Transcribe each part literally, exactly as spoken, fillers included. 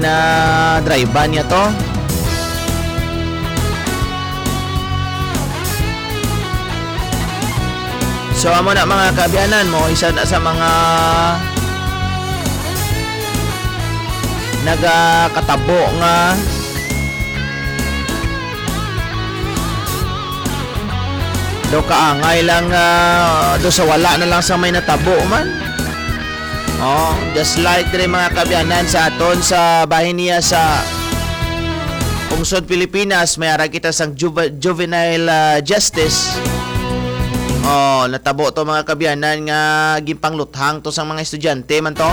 na drive-an niya to. So, amo na, mga kaabyanan, mo isa na sa mga nagakatabo nga daw kaangay lang, ah, daw sa wala na lang sa may natabo man. Oh, just like diri, mga kaabyanan, sa aton sa bahin niya sa Pungsod Pilipinas, may ara kita sang juve-, juvenile, ah, justice. Oh, natabo to, mga kaabyanan, nga ginpangluthang to sang mga estudyante man to.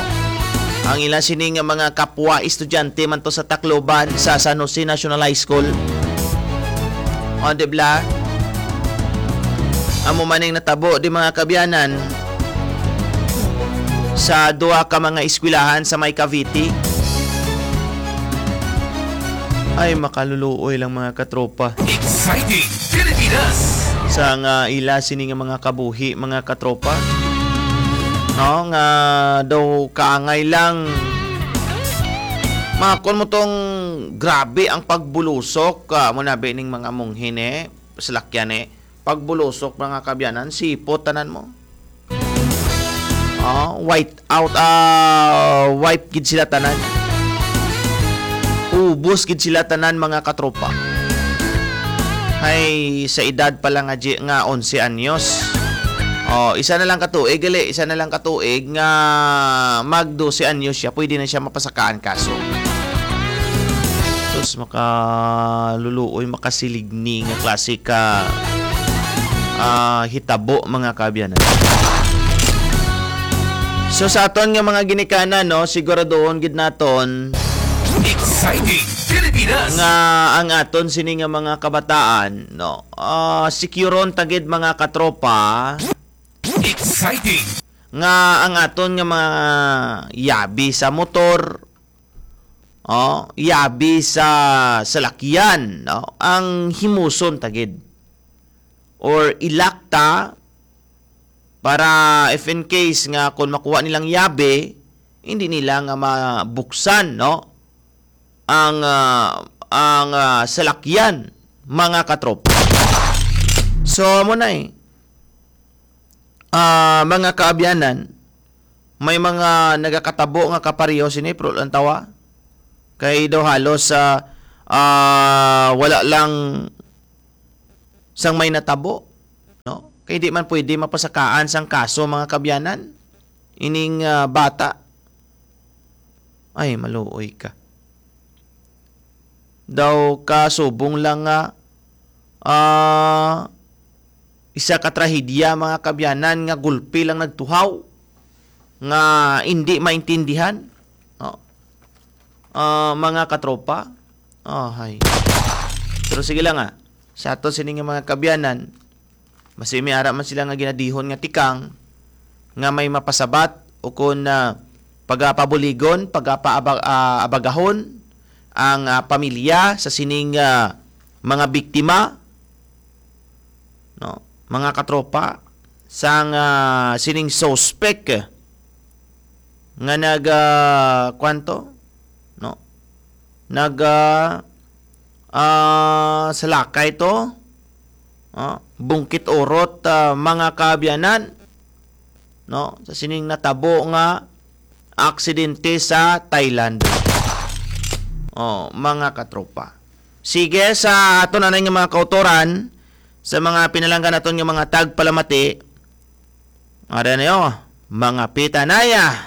Ang ila sini nga mga kapwa estudyante man to sa Tacloban, sa San Jose National High School. Oh, di bala? Amo man ang natabo, di, mga kaabyanan, sa duha ka mga eskwelahan sa may Cavite. Ay, makaluluoy lang, mga katropa. Exciting Pilipinas! Sa nga ila sini nga mga kabuhi, mga katropa. No, nga daw kaangay lang. Makon mo tong grabe ang pagbulusok, ah, mo na ba ning mga munghi ni, salakyan ni. Pagbulusok, mga kaabyanan, sipot tanan mo. Oh, white out, ah, wipe gid sila tanan. Ubos gid sila tanan, mga katropa. Ay, sa edad pa lang nga, nga onse anyos. Oh, isa na lang ka tuig, gali, isa na lang ka tuig nga mag dose anyos siya, pwede na siya mapasakaan kaso. Sus, makaluluoy, makasiligni nga klase ka, ah, hitabo, mga kaabyanan. So, sa aton nga mga ginikanan, no, siguraduhon gid naton Exciting Pilipinas! Nga ang aton sini nga mga kabataan, no, ah, sikuron ta gid, mga katropa. Exciting! Nga ang aton nga mga yabi sa motor, oh, yabi sa salakyan, no, ang himuson ta gid. Or ilak ta para if in case nga kung makuha nilang yabi, hindi nila nga mabuksan, no, ang, ah, ang, ah, salakyan, mga katropa. So, amo na eh. Ah, mga kaabyanan, may mga nagakatabo nga kapareho sini, pero lang tawa. Kay daw halos, ah, ah, wala lang sang may natabo, no? Kay di man pwede mapasakaan sang kaso, mga kaabyanan, ining, ah, bata. Ay, maluoy ka. Daw kasubong lang nga, ah, isa ka trahedya, mga kaabyanan, nga gulpi lang nagtuhaw, nga indi maintindihan. Oh. Ah, mga katropa. Oh, hay. Pero sige lang, ah. Sa ato sini nga mga kaabyanan, basi may ara man sila nga ginadihon nga tikang nga may mapasabat o kun, ah, pagapabuligon, pagapa-, ah, abagahon ang, ah, pamilya sa sining, ah, mga biktima, no? Mga katropa, sang, ah, sining suspek nga nag, ah, kwanto, no? Nag, ah, ah, salakay to, ah, bungkit urot, ah, mga kaabyanan, no? Sa sining natabo nga aksidente sa Thailand. Oh, mga katropa. Sige, sa aton anay nga mga kautoran, sa mga pinalangga naton nga mga tagpalamati, ara niyo, mga pitanaya.